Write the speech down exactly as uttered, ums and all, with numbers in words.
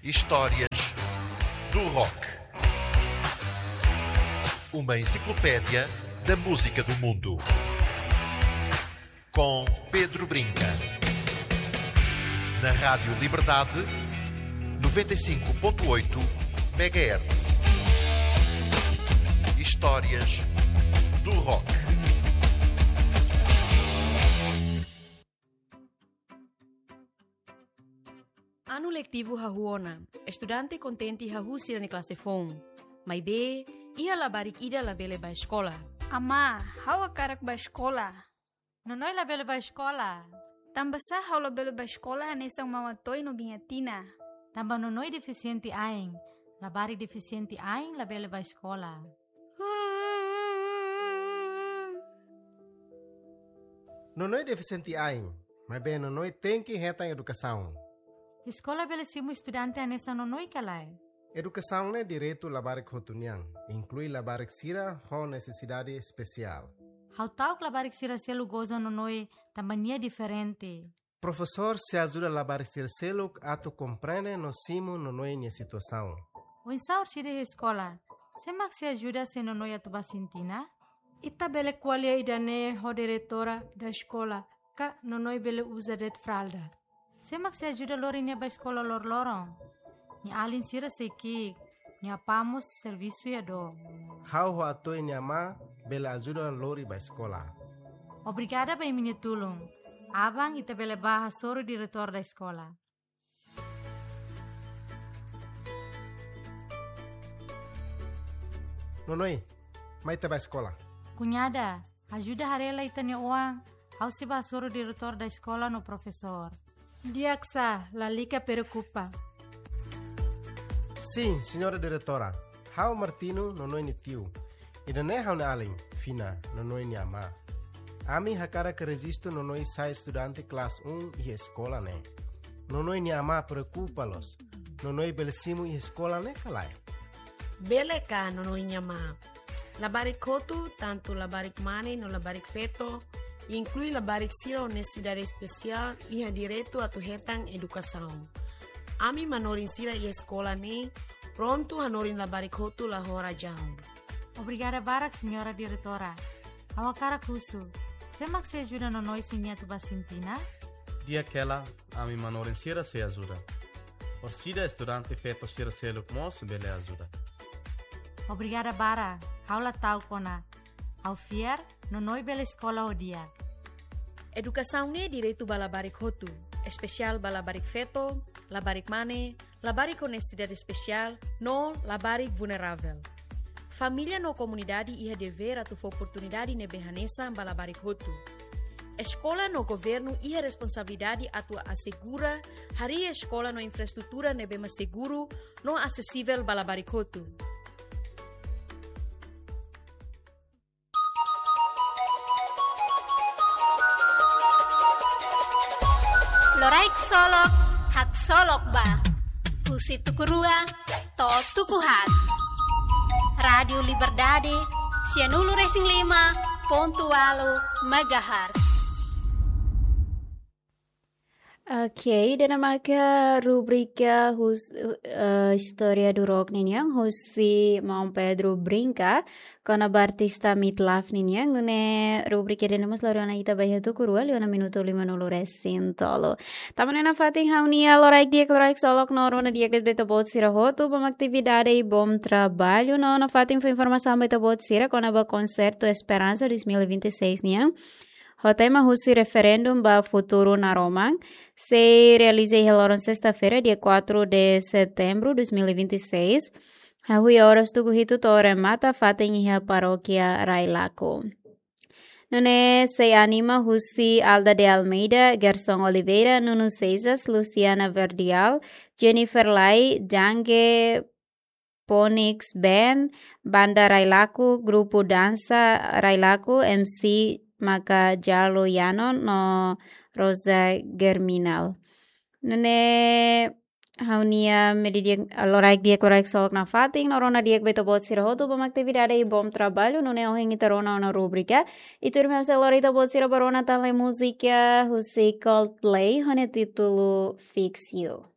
Histórias do Rock. Uma enciclopédia da música do mundo. Com Pedro Brinca. Na Rádio Liberdade, noventa e cinco ponto oito megahertz. Histórias do Rock. Anu letivu hahú ona. Estudante kontente hahú sira-nia klase foun. Maibé, iha labarik ida labele bá eskola. Amá, ha'u hakarak bá eskola. Nonoe labele bá eskola. Tanbasá ha'u labele bá eskola hanesan Mama Toy no Biña Tina? Tanba nonoe defisiente ain. Labarik defisiente ain labele bá eskola. Nonoe defisiente ain, maibé nonoe tenke hetan edukasaun. Eskola bele simu estudante hanesan nonoe ka lae? Edukasaun ne'e direitu labarik hotu nian, inklui labarik sira ho nesesidade espesiál. Ha'u ta'uk labarik sira seluk goza nonoe tanba nia diferente. Profesór sei ajuda labarik sira seluk atu komprende no simu nonoe nia situasaun. Oinsá orsida iha eskola, sé mak sei ajuda se nonoe atu bá sintina? Ita bele ko'alia ida-ne'e ho diretora da eskola, ka nonoe bele uza de'it fralda. Sé mak sei ajuda lori nia bá eskola loroloron? Nia alin sira sei ki'ik, nia apá mós servisu iha dook. Ha'u ho Atoy nia amá bele ajuda lori bá eskola. Obrigada ba imi-nia tulun. Aban ita bele bá hasoru diretór da eskola. Nonoe, mai ita bá eskola. Kuñada, ajuda haree lai ita-nia oan, ha'u sei bá hasoru diretór da eskola no profesór. Di'ak sá, lalika preokupa. Sin, señora diretora. Ha'u Martino, nonoe nia tiu. Ida-ne'e ha'u-nia alin, Fina, nonoe nia amá. Ami hakarak rejistu nonoe sai estudante klase um iha eskola ne'e. Nonoe nia amá preokupa loos. Nonoe bele simu iha eskola ne'e ka lae? Bele ka, nonoe nia amá? Labarik hotu, tantu labarik mane no labarik feto, inklui labarik sira ho nesesidade espesiál, iha direitu atu hetan edukasaun. Ami manorin sira iha eskola ne'e prontu hanorin labarik hotu la ho razaun. Obrigada barak, señora diretora. Ha'u hakarak husu, sé mak sei ajuda nonoe se nia atu bá sintina? Di'ak hela, ami manorin sira sei ajuda. Orsida estudante feto sira seluk mós bele ajuda. Obrigada barak, ha'u la ta'uk ona. Ha'u fiar, nonoe bele eskola ho di'ak. Edukasaun ne'e direitu ba labarik hotu, espesiál ba labarik feto, labarik mane, labarik ho nesesidade espesiál, no labarik vulneravel. Família no komunidade iha devér atu fó oportunidade ne'ebé hanesan ba labarik hotu. Eskola no governu iha responsabilidade atu asegura harii eskola no infraestrutura ne'ebé mak seguru no asesivel ba labarik hotu. Loraik Solok, haksolok ba. Husi tuku rua to'o tuku haat. Rádio Liberdade, sianulu resin lima pontu ualu megahertz. Ok, ida-ne'e maka rubrika hus-, eh, História do Rock ninian, husi Maun Pedro Brinca, kona-ba artista Midlife ninian, nune'e rubrika ida-ne'e mós lori ona ita ba iha tuku rua, liu ona minutu limanulu resin tolu. Tama ona iha fatin ha'u-nia loraik di'ak, loraik solok no rona di'ak de'it ba ita-boot sira hotu, bom atividade i bom trabalho, no iha fatin fó informasaun ba ita-boot sira, kona-ba konsertu Esperansa dois mil e vinte e seis nian. Ho tema husi referendu ba futuru naroman, sei realiza iha loron sesta-feira, dia quatro de setembro dois mil e vinte e seis. Hahú iha oras tuku hitu to'o remata fatin iha parókia Railaco. Nune'e sei anima husi Alda de Almeida, Gerson Oliveira, Nuno Seixas, Luciana Verdial, Jennifer Lai, Jange Ponix Band, Banda Railaco, Grupu Dansa Railaco, M C maka Jalo Yano no Rosa Germinal. Nune'e ha'u-nia mediodía, loraik di'ak, loraik solok nafatin, no rona di'ak ba ita-boot sira hotu, bom atividade i bom trabalho, nune'e ohin ita rona ona rubrika. I tuirmai ha'u sei lori ita-boot sira ba rona tan lai múzika husi Coldplay, ho nia títulu Fix You.